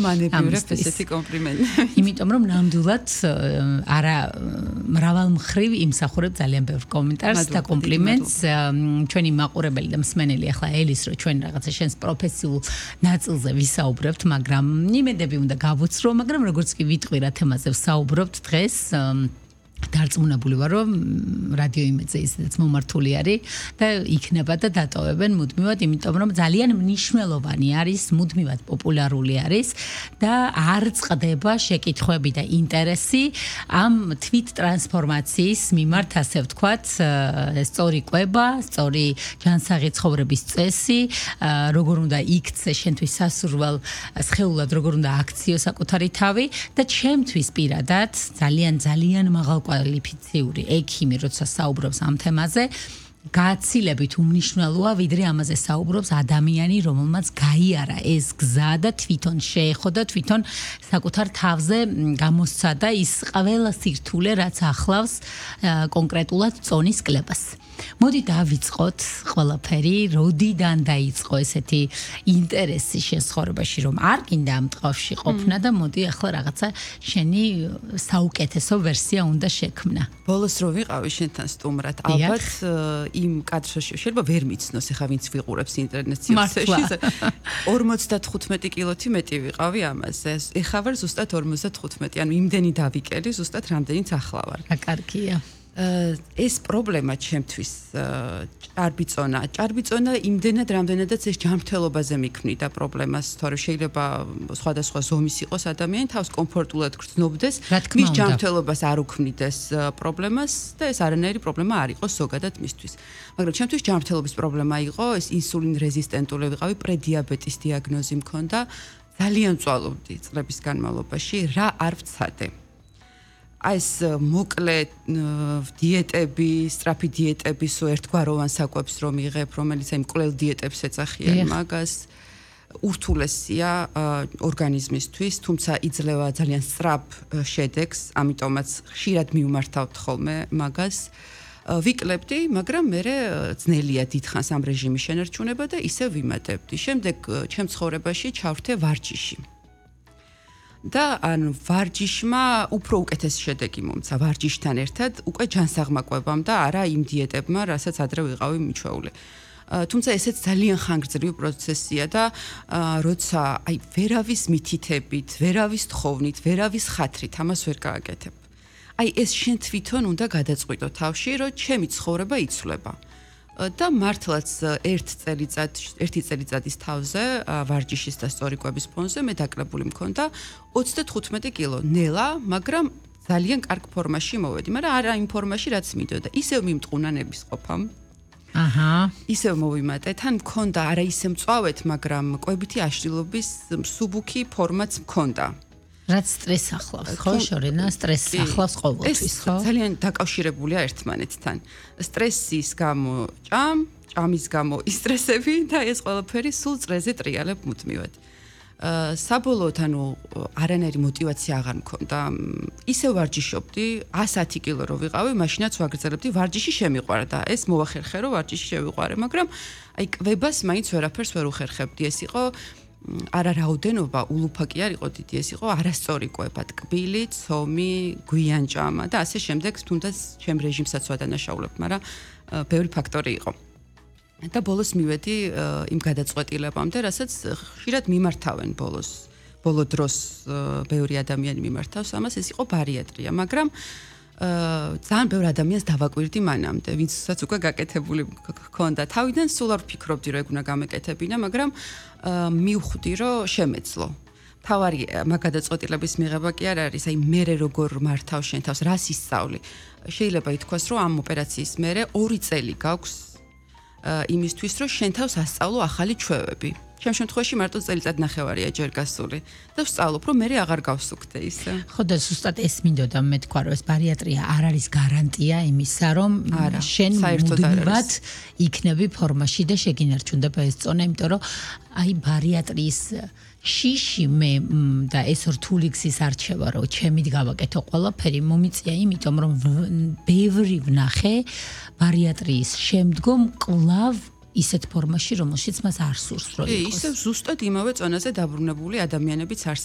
მანებიურებ ესეთი კომპლიმენტები. იმიტომ რომ ნამდვილად არა მრავალ მხრივ იმსახურებ ძალიან ბევრ კომენტარს და კომპლიმენტს ჩვენი მაყურებელი და მსმენელი ახლა ელის რომ ჩვენ რაღაცა შენს პროფესიულ ნაწილზე ვისაუბრებთ, მაგრამ იმედები უნდა გავუცრო, მაგრამ როგორც კი ვიტყვი რა თემაზე ვსაუბრობთ დღეს დარწმუნებული ვარ რომ რადიო იმედზე ისედაც მომართული არის და იქნება და დატოვებენ მუდმივად, იმიტომ რომ ძალიან მნიშვნელოვანი არის, მუდმივად პოპულარული არის და არ წყდება შეკითხვები და ინტერესი ამ თვით ტრანსფორმაციის მიმართ, ასე ვთქვათ, სწორი კვება, სწორი ჯანსაღი ცხოვრების წესი, როგორ უნდა იქცე შენთვის სასურველ სხეულად, როგორ უნდა აქციო საკუთარი თავი და ჩემთვის პირადად ძალიან მაღალ კვალიფიციური ექიმი, როცა საუბრობს ამ თემაზე, გაცილებით უმნიშვნელოა, ვიდრე ამაზე საუბრობს ადამიანი, რომელმაც გაიარა ეს გზა და თვითონ შეეხო და თვითონ საკუთარ თავზე გამოსცადა ის ყველა სირთულე, რაც ახლავს კონკრეტულად წონის კლებას. მოდი დავიწყოთ ყველაფერი, როდიდან დაიწყო ესეთი ინტერესი შენ ცხოვრებაში, რომ არ გინდა ამ ტყავში ყოფნა და მოდი ახლა რაღაცა შენი საუკეთესო ვერსია უნდა შექმნა. ბოლოს რო ვიყავი შენთან სტუმრად, ალბათ იმ კადრში შეიძლება ვერ მიცნოს, ეხა ვინც ვიყურებს ინტერნეტში 55 კილოთი მეტი ვიყავი ამაზე. ეხა ვარ ზუსტად 55, ანუ იმდენი დავიკელი, ზუსტად რამდენიც ახლა ვარ. რა კარგია. ეს პრობლემა ჩემთვის ჭარბიწონა იმდენად რამდენადაც ეს ჯანმრთელობაზე მიქმნიდა პრობლემას, თორე შეიძლება სხვადასხვა ზომის იყოს ადამიანი, თავს კომფორტულად გრძნობდეს, მის ჯანმრთელობას არ უქმნიდეს პრობლემას და ეს არანაირი პრობლემა არ იყოს ზოგადად მისთვის. მაგრამ ჩემთვის ჯანმრთელობის პრობლემა იყო, ეს ინსულინ რეზისტენტული ვიყავი, პრედიაბეტის დიაგნოზი მქონდა, ძალიან წვალობდი წლების განმავლობაში, რა არ ვცადე. ეს მოკლე დიეტები, სწრაფი დიეტები, სულ ერთგვაროვან საკვებს რომ იღებ, რომელიც აი მკვლელ დიეტებს ეძახიან მაგას, ურთულესია ორგანიზმისთვის, თუმცა იძლევა ძალიან სწრაფ შედეგს, ამიტომაც ხშირად მივმართავთ ხოლმე მაგას. ვიკლებდი, მაგრამ მე ძნელია დიდხანს ამ რეჟიმის შენარჩუნება და ისევ ვიმატებდი. შემდეგ ჩემ ცხოვრებაში ჩავრთე ვარჯიში. და ან ვარჯიშმა უფრო უკეთესი შედეგი მომცა ვარჯიშთან ერთად უკვე ჯანსაღმა კვებამ და არა იმ დიეტებმა, რასაც ადრე ვიყავი მიჩვეული. თუმცა ესეც ძალიან ხანგრძლივი პროცესია და როცა აი ვერავის მითითებით, ვერავის თხოვნით, ვერავის ხათრით ამას ვერ გააკეთებ. აი ეს შენ თვითონ უნდა გადაწყვიტო თავში, რომ ჩემი ცხოვრება იცვლება. და მართლაც ერთი წელიწადის თავზე ვარჯიშის და სწორი კვების ფონზე მე დაკლებული მქონდა 35 კილო ნელა, მაგრამ ძალიან კარგ ფორმაში მოვედი, მაგრამ არა იმ ფორმაში, რაც მინდოდა. ისევ მიმტყუნა ნების ყოფამ. ისევ მოვიმატე, თან მქონდა არა ისე მწვავეთ, მაგრამ კვებითი აშლილობის მსუბუქი ფორმაც მქონდა. რაც სტრესს ახლავს, ხო, შორენა, სტრესს ახლავს ყოველთვის, ხო? ძალიან დაკავშირებულია ერთმანეთთან. სტრესის გამო ჭამის გამო ისტრესები და ეს ყველაფერი სულ წრეზე ტრიალებ მუდმივად. საბოლოოდ ანუ არანაირი мотиваცია აღარ მქონდა. ისევ ვარჯიშობდი, 110 კილო რო ვიყავი, მაშინაც ვაგრძელებდი, ვარჯიში შემიყვარდა. ეს მოვახერხე, რომ ვარჯიში შევიყვარე, მაგრამ აი კვებას მაინც ვერაფერს ვერ უხერხებდი. ეს იყო არა რაოდენობა, ულუფა კი არ იყო დიდი, ეს იყო არასწორი კვება, ტკბილი, ცომი, გვიანჭამა და ასე შემდეგ, თუნდაც ჩემ რეჟიმსაც ვადანაშაულებთ, მაგრამ ბევრი ფაქტორი იყო. და ბოლოს მივედი იმ გადაწყვეტილებამდე, რასაც ხშირად მიმართავენ ბოლო დროს ბევრი ადამიანი მიმართავს ამას, ეს იყო ბარიატრია, მაგრამ ძალიან ბევრი ადამიანს დავაკვირდი მანამდე, ვინცაც უკვე გაკეთებული ჰქონდა. თავიდან სულ არ ვფიქრობდი, რომ ეგ უნდა გამეკეთებინა, მაგრამ მივხვდი, რომ შემეძლო. თავარი მაგ გადაწყვეტილების მიღება კი არ არის, აი მე როგორ მართავ შენ თავს, რას ისწავლი. შეიძლება ითქვას, რომ ამ ოპერაციის მერე 2 წელი გაქვს იმისთვის, რომ შენ თავს ასწავლო ახალი ჩვევები. ჩემ შემთხვევაში მარტო წელიწად ნახევარია ჯერ გასული და ვსწავლობ, რომ მე აღარ გავსუქდე ისე. ხო და ზუსტად ეს მინდოდა მე თქვა, რომ ეს ბარიატრია არ არის გარანტია იმისა, რომ შენ მუდმივად იქნები ფორმაში და შეგინარჩუნდება ეს წონა, იმიტომ რომ აი ბარიატრიის შიში მე და ეს რთული გზის არჩევა, რომ ჩემით გავაკეთო ყველაფერი, მომიწია იმიტომ, რომ ბევრი ვნახე ბარიატრიის შემდგომ კლავ ისეთ ფორმაში, რომელშიც მას არ სურს რომ იყოს. ისევ ზუსტად იმავე წონაზე დაბრუნებული ადამიანებიც არსებობს.